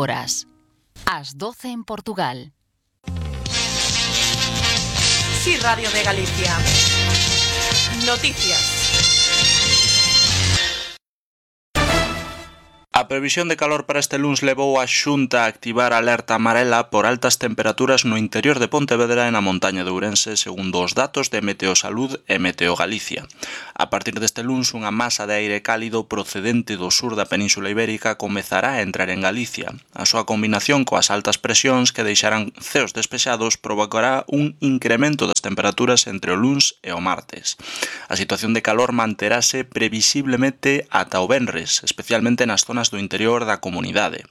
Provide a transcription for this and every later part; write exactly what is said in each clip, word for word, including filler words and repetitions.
horas. As doce en Portugal. Sí, Radio de Galicia. Noticias. A previsión de calor para este luns levou a Xunta a activar a alerta amarela por altas temperaturas no interior de Pontevedra e na montaña de Ourense, segundo os datos de Meteosalud e Meteo Galicia. A partir deste luns, unha masa de aire cálido procedente do sur da Península Ibérica comezará a entrar en Galicia. A súa combinación coas altas presións que deixarán ceos despexados provocará un incremento das temperaturas entre o luns e o martes. A situación de calor manterase previsiblemente ata o venres, especialmente nas zonas do interior da comunidade.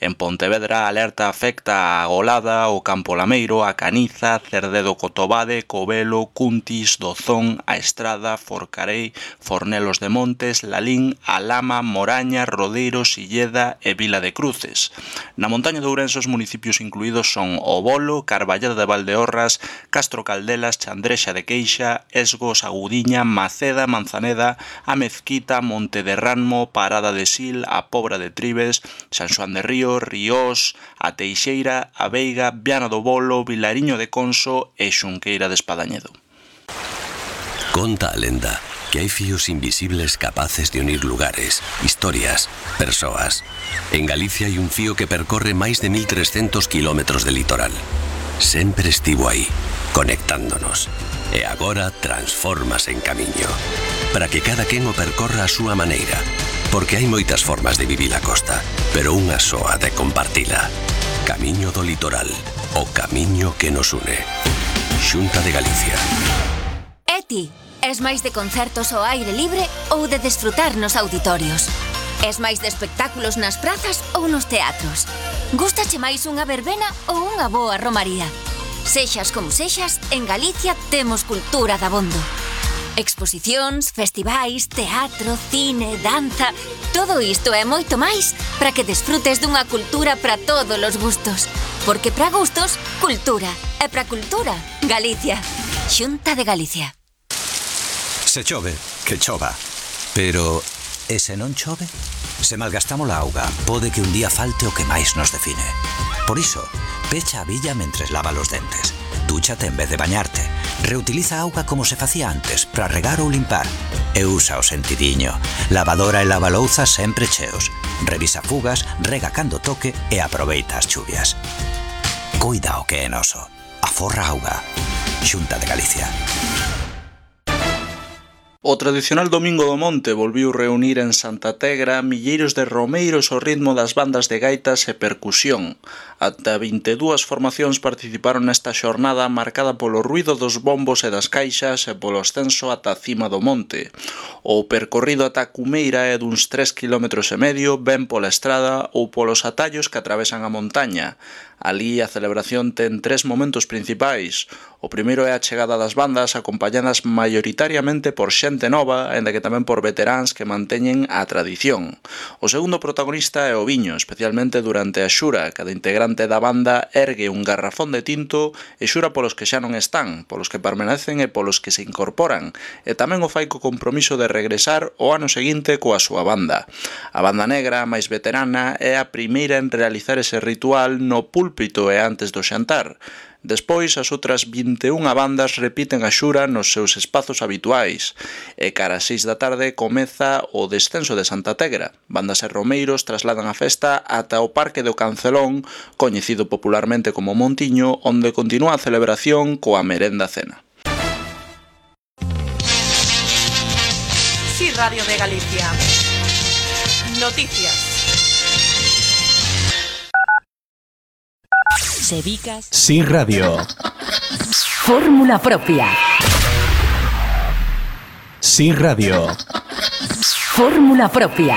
En Pontevedra, a alerta afecta a Golada, o Campo Lameiro, a Caniza, Cerdedo Cotobade, Covelo, Cuntis, Dozón, a Estrada, Forcarei, Fornelos de Montes, Lalín, Alama, Moraña, Rodeiro, Silleda e Vila de Cruces. Na montaña de Ourense os municipios incluídos son O Bolo, Carballeda de Valdeorras, Castro Caldelas, Chandrexa de Queixa, Esgos, Agudiña, Maceda, Manzaneda, a Mezquita, Monte de Ranmo, Parada de Sil, a Pobra de Tribes, San Xoán de Río, Ríos, a Teixeira, a Veiga, Viana do Bolo, Vilariño de Conso e Xunqueira de Espadañedo. Conta a lenda que hai fíos invisibles capaces de unir lugares, historias, persoas. En Galicia hai un fío que percorre máis de mil trescentos kilómetros de litoral. Sempre estivo aí, conectándonos. E agora transfórmase en camiño, para que cada quen o percorra a súa maneira. Porque hai moitas formas de vivir a costa, pero unha soa de compartila. Camiño do litoral, o camiño que nos une. Xunta de Galicia. E ti, es máis de concertos ao aire libre ou de desfrutar nos auditorios? Es máis de espectáculos nas prazas ou nos teatros? Gústache máis unha verbena ou unha boa romaría? Sexas como sexas, en Galicia temos cultura dabondo. Exposicións, festivais, teatro, cine, danza... Todo isto e moito máis para que desfrutes dunha cultura para todos os gustos. Porque para gustos, cultura. E para cultura, Galicia. Xunta de Galicia. Se chove, que chova. Pero, e se non chove? Se malgastamos a auga, pode que un día falte o que máis nos define. Por iso, pecha a billa mentres lava os dentes. Dúchate en vez de bañarte. Reutiliza a auga como se facía antes para regar ou limpar. E usa o sentidiño. Lavadora e lavalouza sempre cheos. Revisa fugas, rega cando toque e aproveita as chuvias. Coida o que é noso. Aforra auga. Xunta de Galicia. O tradicional Domingo do Monte volviu reunir en Santa Tegra milleiros de romeiros ao ritmo das bandas de gaitas e percusión. Ata vinte e dúas formacións participaron nesta xornada marcada polo ruido dos bombos e das caixas e polo ascenso ata a cima do monte. O percorrido ata Cumeira é duns tres kilómetros e medio, ben pola estrada ou polos atallos que atravesan a montaña. Alí a celebración ten tres momentos principais. O primeiro é a chegada das bandas acompañadas maioritariamente por xente nova, aínda que tamén por veteráns que manteñen a tradición. O segundo protagonista é o viño, especialmente durante a xura. Cada integrante da banda ergue un garrafón de tinto e xura polos que xa non están, polos que permanecen e polos que se incorporan, e tamén o fai co compromiso de regresar o ano seguinte coa súa banda. A banda negra, máis veterana, é a primeira en realizar ese ritual no púlpito e antes do xantar. Despois, as outras vinte e unha bandas repiten a xura nos seus espazos habituais. E cara ás seis da tarde comeza o descenso de Santa Tegra. Bandas e romeiros trasladan a festa ata o Parque do Cancelón, coñecido popularmente como Montiño, onde continúa a celebración coa merenda cena. Sí, Radio de Galicia. Noticias. Sevicas. Sí Radio. Fórmula propia. Sí Radio. Fórmula propia.